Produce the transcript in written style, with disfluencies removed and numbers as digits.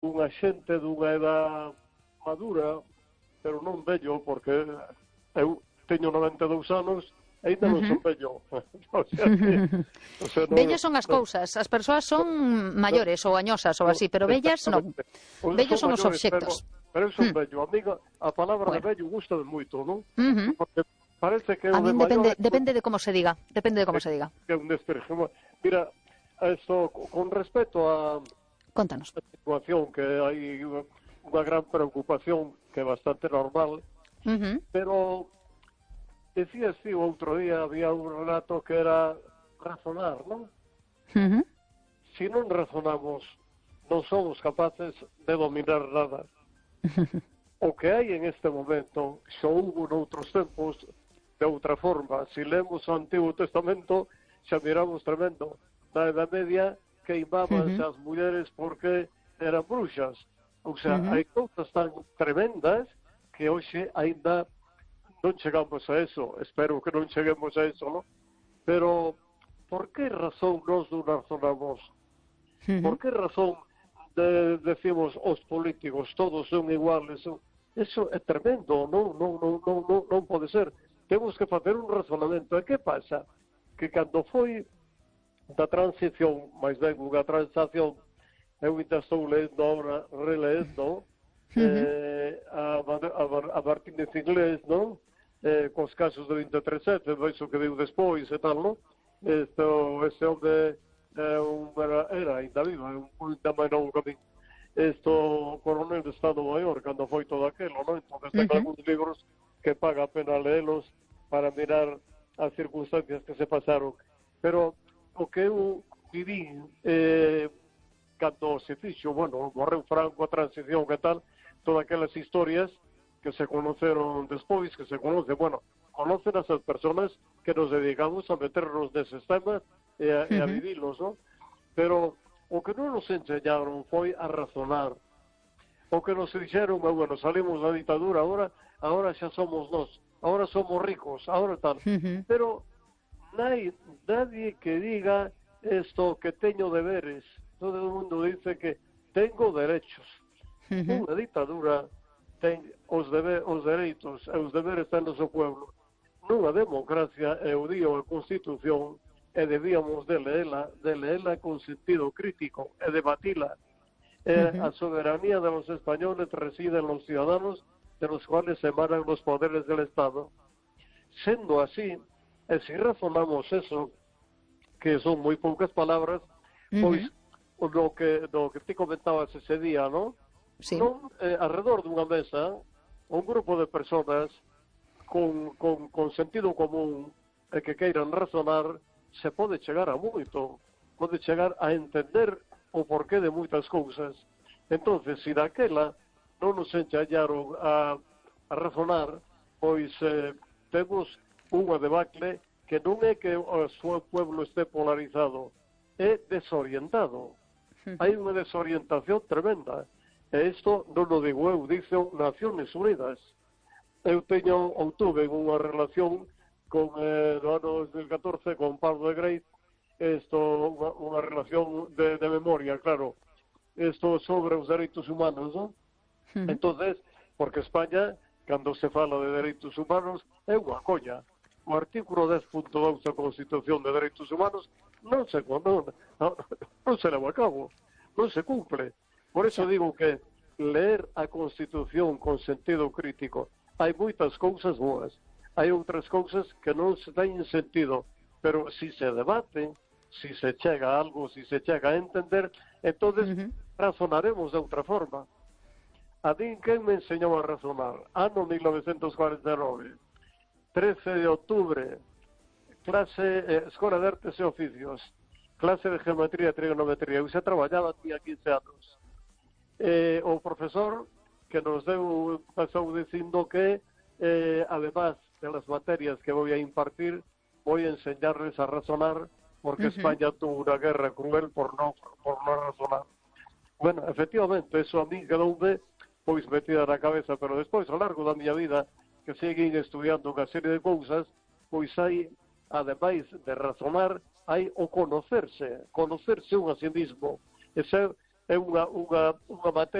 unha xente dunha edad madura, pero non vello, porque eu teño 92 anos e ainda non son vello. Vellas son as cousas, as persoas son maiores ou añosas ou así, pero vellas non. Vellos son os obxectos. Pero eu son vello. Amiga, a palabra de vello gusta moito, non? Porque parece que a o de min maior... depende de como se diga. Depende de como se diga. Que é un desprecio. Mira, esto, con respecto a... Contanos. A situación que hai unha gran preocupación que é bastante normal, pero decías ti o outro día había un relato que era razonar, non? Si non razonamos, non somos capaces de dominar nada. O que hai en este momento xa houve noutros tempos de outra forma. Si lemos o Antigo Testamento xa miramos tremendo. Na Edad Media queimábanse as mulleres porque eran bruxas. O sea, hai cousas tan tremendas que hoxe ainda non chegamos a eso. Espero que non cheguemos a eso, ¿no? Pero, por que razón nos non razonamos? Por que razón decimos os políticos todos son iguales? Eso é tremendo, non pode ser. Temos que facer un razonamento. E que pasa? Que cando foi da transición, máis ben unha transación, eu ainda estou lendo ahora, releendo a Martínez Inglés, non? Cos casos do 23-7, veis o que diu despois e tal, non? Este hombre era ainda vivo, ainda máis novo que a min. Coronel de Estado Maior, cando foi todo aquelo, non? Entón, ten algúns libros que paga a pena leelos para mirar as circunstancias que se pasaron. Pero o que eu viví cando se fixo, bueno, morreu Franco, a transición e tal, todas aquelas historias que se conoceron despois, que se conocen, bueno, conocen as persoas que nos dedicamos a meternos neses temas e a vivilos, non? Pero o que non nos enseñaron foi a razonar. O que nos dixeron, bueno, salimos da ditadura, agora xa somos nós, agora somos ricos, agora tal. Pero nadie que diga esto que teño deberes. Todo o mundo dice que tengo derechos. Unha ditadura ten os dereitos e os deberes ten o seu pueblo. Nunha democracia, eu digo a Constitución, e debíamos de leela con sentido crítico e debatila. A soberanía de los españoles reside en los ciudadanos de los cuales emanan los poderes del Estado. Sendo así, e se razonamos eso, que son moi poucas palabras, pois do que ti comentabas ese día, non? Sí. Non, alrededor dunha mesa, un grupo de personas con sentido común e que queiran razonar, se pode chegar a moito, pode chegar a entender o porqué de moitas cousas. Entonces, se daquela non nos enxallaron a razonar, pois temos unha debacle que non é que o seu pueblo este polarizado, é desorientado. Hai unha desorientación tremenda. E isto non o digo eu, dixo Naciones Unidas. Eu tuve unha relación con no ano 2014 con Pablo de Grey, unha relación de memoria, claro, sobre os dereitos humanos, non? Entonces, porque España, cando se fala de dereitos humanos, é unha coña. O artículo 10.2 da Constitución de Dereitos Humanos non se leva a cabo, non se cumple. Por eso digo que leer a Constitución con sentido crítico, hai moitas cousas boas, hai outras cousas que non se teñen sentido, pero si se debate, si se chega a algo, si se chega a entender, entonces razonaremos de outra forma. A din quen me enseñou a razonar? Ano 1949, 13 de octubre, clase, Escola de Artes e Oficios, clase de Geometría e Trigonometría. Eu xa traballaba, tinha 15 anos. O profesor que nos pasou dicindo que, además de las materias que voy a impartir, voy a enseñarles a razonar, porque España tuvo una guerra cruel por no razonar. Bueno, efectivamente, eso a mí quedoume pois metida na cabeza, pero despois, ao largo da miña vida, que seguín estudiando unha serie de cousas, pois hai, ademais de razonar, hai o conocerse un a sí mismo, e ser é unha materia